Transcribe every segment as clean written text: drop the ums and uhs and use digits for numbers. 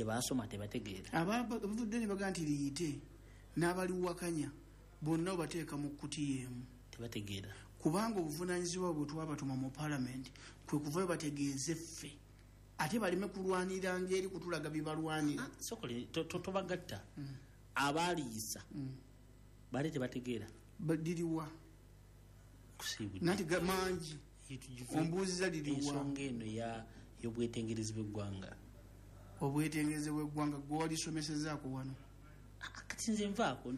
Tebasoma, tebategeera. Abavudde ne baga nti liyite n'abaliwakanya bonna obateeka mu kkutiya emu. Tebategeera. Kubanga obuvunaanyizibwa bwe twabatuma mu palamenti kwe kuvayo bategeeze ffe, ate baleme kulwanira ngeri kutulaga bye balwanira. Sokole tobagatta. Abaaliyisa baali tebategeera. Liriwa? Nanti mangi ombuuziza liriwa. Ensonga eno y'obwetengerezi bw'eggwanga. Obwetengerezi bw'eggwanga gwe walisomesezaako wano. Kati nze nvaako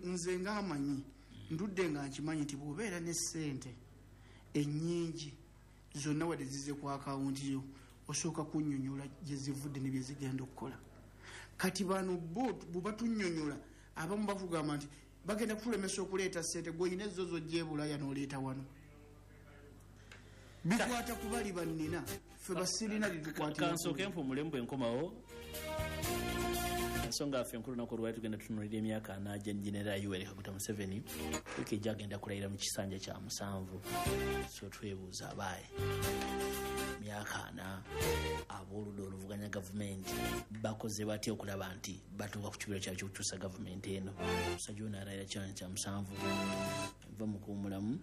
nze ng'amanyi ndudde nga nkimanyi nti bw'obeera ne ssente ennyingi zonna wadde zize ku akawunti yo, osooka kunnyonnyola gye zivudde ne bye zigenda okukola. Kati bano bo bwe batunnyonnyola, abamu bakugamba nti bagenda kutulemesa okuleeta ssente, gwe olina ezo z'ojja e Bulaaya n'oleeta wano. Bikwata ku bali bannina, ffe basirina litukwatira. Kansooke mpumulemu bwe nkomawo. Ensonga yaffe enkulu lunaku olwali tugenda tutunuulira emyaka ana gya Genera Yoweri Kaguta Museveni, wiiki ejja agenda kulayira mu kisanja kya 7. So twebuuza abaaye, myaka 4 ab'oludda oluvuganya gavumenti bakoze batya okulaba nti batuuka ku kibiro kyabwe ky'okukyusa gavumenti eno. Omusajja ono alayira kisanja kya 7. Nva mu kuwummulamu,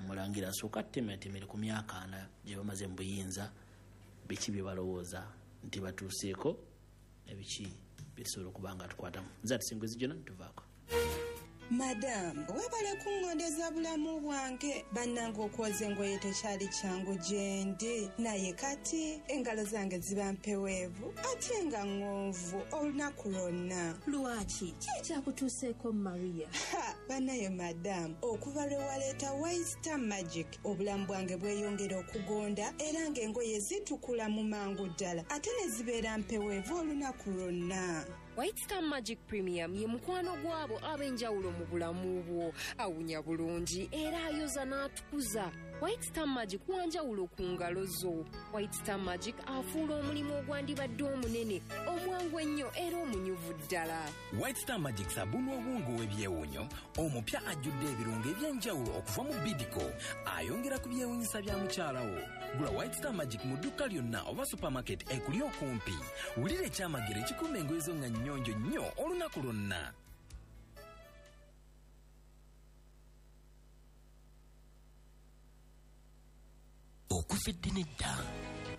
mulangira asooka atemeratemere ku myaka 4 gye bamaze mu buyinza, biki bye balowooza nti batuuseeko ebiki byetusobola okuba nga tukwatamu. Nze atusinga jona tuvaako. Madamu, webale kungondeza bulamu bwange. Bannange okwoza engoye tekyali kyangu gyendi, naye kati engalo zange ziba mpeweevu ate nga ŋŋonvu olunaku lwonna. Lwaki? Ki ekyakutuuseeko Maria? Ha, bannaye madamu, okuva lwe waleeta White Star Magic obulamu bwange bweyongera okugonda era ng'engoye zitukula mu mangu ddala ate ne zibeera mpeweevu olunaku lwonna. White Star Magic Premium ye mukwano gwabo ab'enjawulo mu bulamu bwo. Awunya bulungi era ayoza n'atukuza. White Star Magic wanjawulo ku ngalo zo. White Star Magic afuula omulimu ogwandibadde omunene, omwangu ennyo era omunyuvu ddala. White Star Magic sabuni obwongo w'ebyewuunyo omupya ajjudde ebirungo eby'enjawulo okuva mu Bidco, ayongera ku byewuunyisa bya mukyala wo. Gula White Star Magic mu dduuka lyonna oba supermarket ekuli okumpi. Wulira ekyamagero ekikuuma engoye zo nga nnyonjo nnyo olunaku lwonna. Okuva edda n'edda,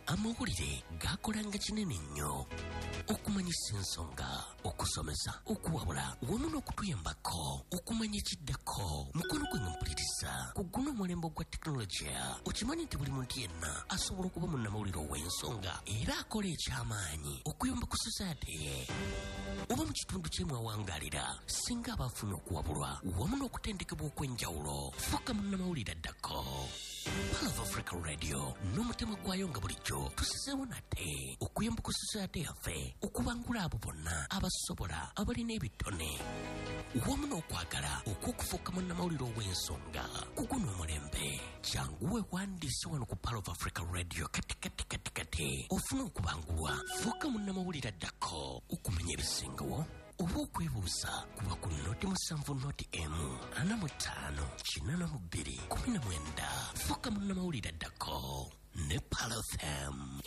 amawulire gakolanga kinene nnyo okumanyisa ensonga, okusomesa, okuwabula wamu n'okutuyambako okumanya ekiddako. Mukono gwange mpuliriza ku guno omulembe ogwa tekinologiya, okimanyi nti buli muntu yenna asobola okuba munnamawulire ow'ensonga era akola ekyamaanyi okuyamba ku society ye oba mu kitundu kye mwawangalira, singa aba afunye okuwabulwa wamu n'okutendekebwa okw'enjawulo. Fuuka munnamawulire addako. Pearl of Africa Radio n'omutima gwayo nga bulijjo tusizeewo nate okuyamba ku society yaffe okubangula abo bonna abasobola, abalina ebitone wamu n'okwagala okw'okufuuka munnamawulire ow'ensonga ku guno omulembe. Jangu weewandiise wano ku Pearl of Africa Radio kati kati kati kati ofune okubangulwa. Fuuka munnamawulire addako okumanya ebisingawo oba okwebuuza kuba ku 07 01 45 82 19. Fuuka munnamawulire addako ne Pearl FM.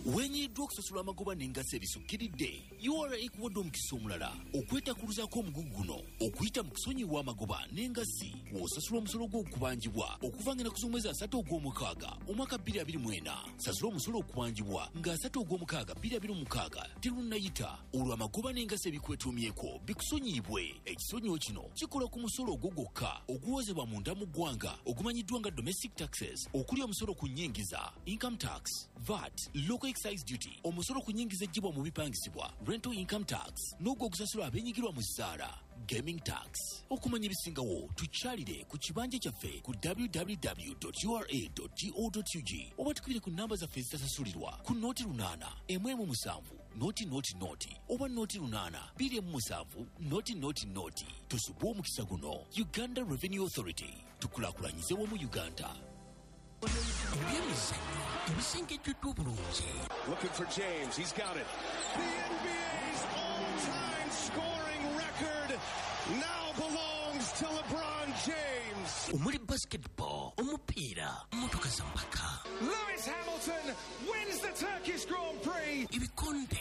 Wenyiddwa okusasula amagoba n'engassi ebisukkiridde, URA ekuwadde omukisa omulala okwetakuluzaako omugugu guno okuyita mu kusonyiwa amagoba n'engassi w'osasula omusolo gw'okubanjibwa okuva ng'ennaku z'omwezi 3 ogw'omukaaga omwaka 2024. Sasula omusolo okubanjibwa nga 3 ogw'omukaaga 2026 terunnayita, olwo amagoba n'engassi ebikwetuumyeko bikusonyiyibwe. Ekisonyiwo kino kikola ku musolo ogwo gwokka oguwozebwa munda mu ggwanga ogumanyiddwa nga domestic taxes, okuli omusolo ku nnyingiza, income tax, VAT, local excise duty, omusolo ku nnyingiza eggyibwa mu bipangisibwa, rental income tax, n'ogwo ogusasulwa abeenyigirwa mu zzaala, gaming tax. Okumanya ebisingawo tukyalire ku kibanja kyaffe ku www.ura.go.ug oba tukubire ku namba zaffe ezitasasulirwa ku 08 17 0 0 0 oba 08 27 0 0 0. Tusubwe omukisa guno. Uganda Revenue Authority, tukulaakulanyize wamu Uganda. Ebyemizannyo ebisengejjeddwa obulungi. Looking for James, he's got it. The NBA's all-time scoring record now belongs to LeBron James. Omuli basketball, omupiira, mmotoka za mpaka. Lewis Hamilton wins the Turkish Grand Prix. Ebikonde.